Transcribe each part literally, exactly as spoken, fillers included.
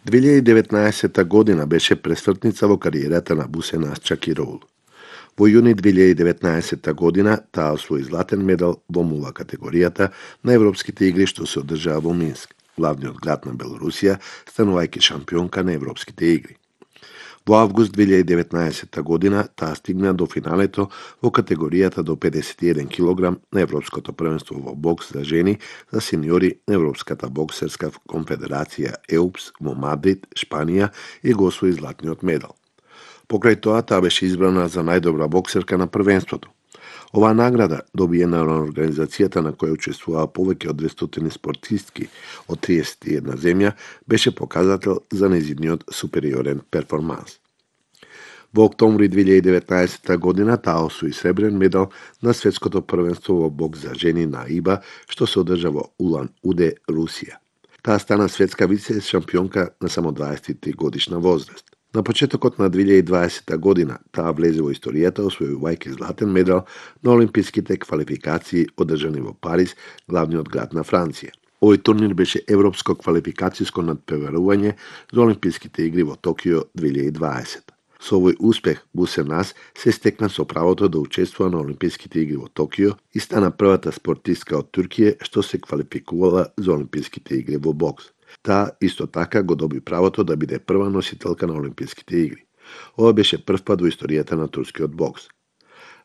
две илјади и деветнаесетта година беше пресвртница во кариерата на Бусеназ Чакироглу. Во јуни две илјади и деветнаесетта година таа освои златен медал во мула категоријата на Европските игри што се одржаа во Минск, главниот град на Белорусија, станувајќи шампионка на Европските игри. Во август две илјади и деветнаесетта година таа стигна до финалето во категоријата до педесет и еден килограм на Европското првенство во бокс за жени за сениори на Европската боксерска конфедерација ЕУПС во Мадрид, Шпанија и го освои златниот медал. Покрај тоа таа беше избрана за најдобра боксерка на првенството. Оваа награда, добиена на организацијата на која учествуваа повеќе од двестотини спортистки од триесет и една земја, беше показател за нејзиниот супериорен перформанс. Во октомври две илјади и деветнаесетта година таа освои сребрен медал на светското првенство во бокс за жени на ИБА, што се одржа во Улан-Удэ, Русија. Таа стана светска вице шампионка на само дваесет и три годишна возраст. На почетокот на две илјади и дваесетта година таа влезе во историјата освојувајќи златен медал на олимписките квалификации одржани во Париз, главниот град на Франција. Овој турнир беше европско квалификацијско надпреварување за олимписките игри во Токио две илјади и дваесетта. Со овој успех Бусеназ се стекна со правото да учествува на олимписките игри во Токио и стана првата спортистка од Турција што се квалификувала за олимписките игри во бокс. Таа исто така го доби правото да биде прва носителка на олимписките игри. Ова беше прв пат во историјата на турскиот бокс.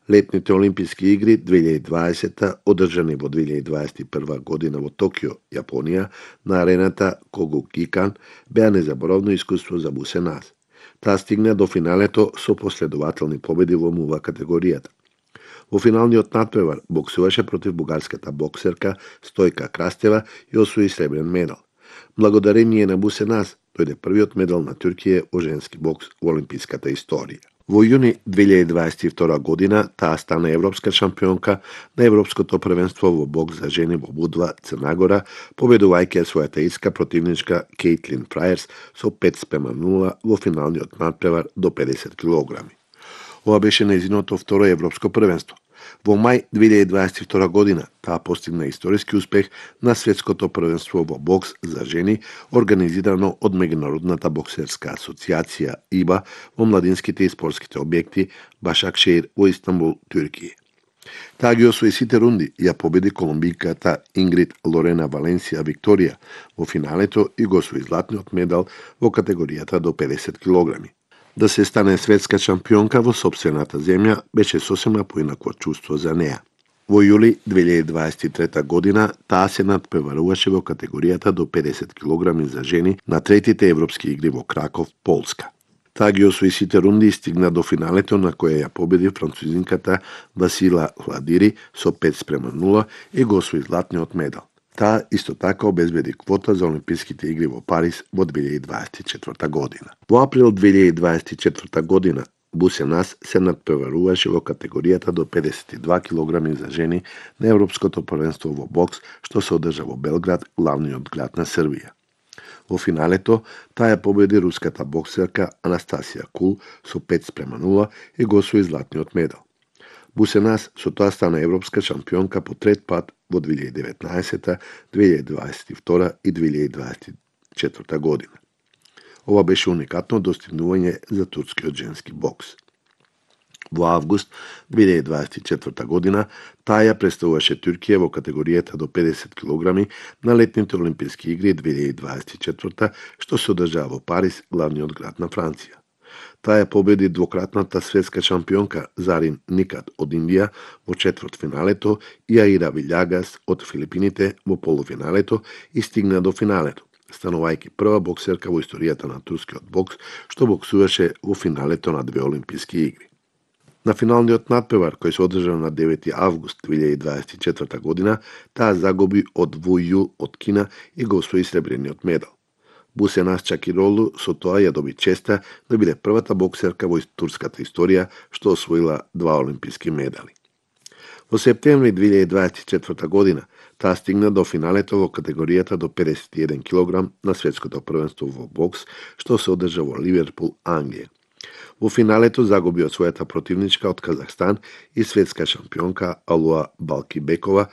Летните олимписки игри две илјади и дваесетта, одржани во две илјади и дваесет и прва година во Токио, Јапонија, на арената Когукикан, беа незаборавно искуство за Бусеназ. Таа стигна до финалето со последователни победи во мува категоријата. Во финалниот натпревар боксуваше против бугарската боксерка Стојка Крастева и освои сребрен медал. Благодарение на Бусеназ дојде првиот медал на Турција во женски бокс во олимписката историја. Во јуни две илјади и дваесет и втора година таа стана европска шампионка на Европското првенство во бокс за жени во Будва, Црна Гора, победувајќи својата иска противничка Кейтлин Фрајерс со пет спрема нула во финалниот надпревар до педесет килограми. Ова беше нејзиното второ европско првенство. Во мај две илјади и дваесет и втора година таа постигна историски успех на светското првенство во бокс за жени, организирано од Меѓународната боксерска асоциација ИБА во младинските и спортските објекти Башакшеир во Истанбул, Турција. Таа ги освои сите рунди и ја победи колумбиката Ингрид Лорена Валенсија Викторија во финалето и го освои златниот медал во категоријата до педесет килограми. Да се стане светска шампионка во сопствената земја беше сосема поинакво чувство за неа. Во јули две илјади и дваесет и трета година таа се надпреваруваше во категоријата до педесет килограми за жени на третите европски игри во Краков, Полска. Таа ги освои сите рунди и стигна до финалето на која ја победи французинката Васила Хладири со пет спрема нула и го освои златниот медал. Таа исто така обезбеди квота за олимписките игри во Париз во две илјади и дваесет и четврта година. Во април две илјади и дваесет и четврта година Бусеназ се надпреваруваше во категоријата до педесет и два килограми за жени на Европското првенство во бокс што се одржа во Белград, главниот град на Србија. Во финалето таа ја победи руската боксерка Анастасија Кул со пет спрема нула и го освои златниот медал. Бусеназ со тоа стана европска шампионка по трет пат во две илјади и деветнаесетта, две илјади и дваесет и втора и две илјади и дваесет и четврта година. Ова беше уникатно достигнување за турскиот женски бокс. Во август две илјади и дваесет и четврта година таа ја представуваше Турција во категоријата до педесет килограми на летните олимписки игри две илјади и дваесет и четврта што се одржаа во Париз, главниот град на Франција. Таа ја победи двократната светска шампионка Зарин Никат од Индија во четвртфиналето и Аира Вилјагас од Филипините во полуфиналето и стигна до финалето, станувајќи прва боксерка во историјата на турскиот бокс што боксуваше во финалето на две олимписки игри. На финалниот надпревар кој се одржа на девети август две илјади и дваесет и четврта година, таа загуби од Ву Ю од Кина и го освои сребрениот медал. Бусеназ Чакироглу со тоа ја доби честа да биде првата боксерка во турската историја што освоила два олимписки медали. Во септември две илјади и дваесет и четврта година таа стигна до финалето во категоријата до педесет и еден килограм на светското првенство во бокс што се одржа во Ливерпул, Англија. Во финалето загуби од својата противничка од Казахстан и светска шампионка Алуа Балкибекова